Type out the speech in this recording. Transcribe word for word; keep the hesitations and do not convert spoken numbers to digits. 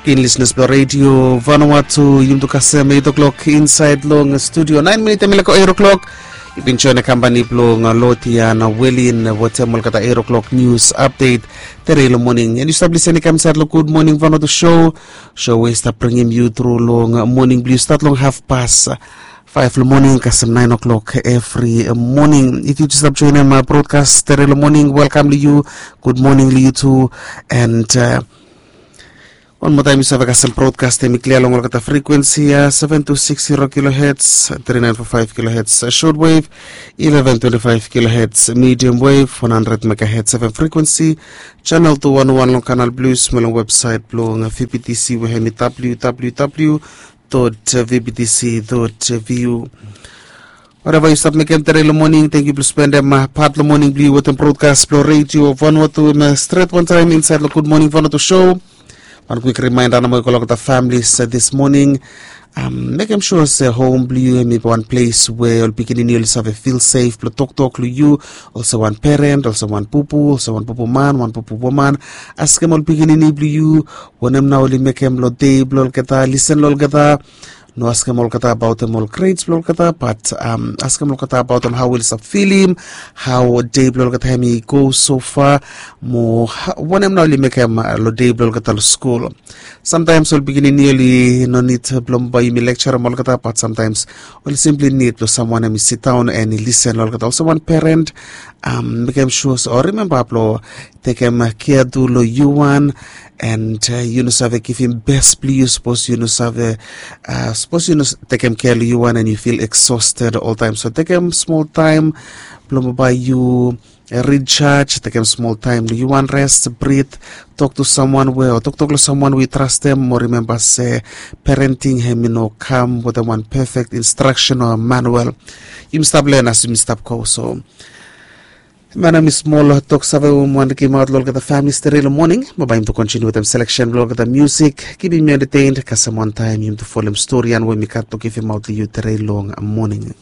Kin lisnas blong redio Vanuatu, yum tu kasem eight o'clock insaed long studio, naen minit em i lako eight o'clock. Yu bin join na kampani blong Loti ana Welin wetem olgeta eight o'clock news update. Tere long moning en yu stap lisen i kam insaed long Good Morning Vanuatu show. Show we i stap bringim yu tru long moning blong yu stat long haf pas five long moning kasem nine o'clock evri moning. If yu just stap joinim brodkas tere long moning, welkam long yu. Good morning long yu tu. And wan moa taem yu save kasem brodkas em i klia long olgeta frekuensi ya, seven two six zero kilohertz, three nine four five kilohertz short wave, eleven twenty five kilohertz medium wave, one hundred megahertz seven frekuensi, channel two one one long Kanal Plus, me long websaet blong V B T C we hem i www dot V B T C dot V U. Whatever yu stap mekem tere long moning, tengkiu blong spendem pat long moning blong yu wetem brodkas blong redio Vanuatu. Em stret wantaem insaed long Good Morning Vanuatu show. Wan kwik rimaenda nomo i go long olgeta familis dis moning. Mekem sua se hom blong yu em i wan ples we ol pikinini oli save fil sef blong toktok long yu, olsem wan peren, olsem wan pupu, olsem wan pupu man, wan pupu woman. Askem ol pikinini blong yu wanem nao oli mekem long dei blong olgeta, lisen long olgeta. No askem olgeta abaotem ol grades blong olgeta, bat askem olgeta abaotem hao oli save filim, hao dei blong olgeta hem i go sofa, mo wanem nao oli mekem long dei blong olgeta long skul. Samtaems ol pikinini oli no nid blong bae yumi lekserem olgeta, bat samtaems oli simpli nid blong samwan hem i sidaon en i lisen long olgeta. Olsem wan peren, mekem sua o rimemba blong tekem kea tu long yu wan. And yu no save givim bes blong yu sapos yu no save, sapos yu no tekem kea long yu wan and yu fil eksosted oltaem, so tekem smol taem blong bae yu richarj, tekem smol taem blong yu wan res, brit, tok tu samwan we o toktok long samwan we yu trastem. Mo rimemba se parenting hem i no kam wetem wan pefek instraksen o manuel. Yumi stap len as yumi stap go. So em ya nao mi smol tok save we mi wani gimaot long olgeta familis tere long moning. Mo bae yumi tu kontiniu wetem seleksen blong olgeta musik, kipim yu entetened kasem wantaem yumi tu folem stori ya we mi gat blong givimaot long yu tere long moning.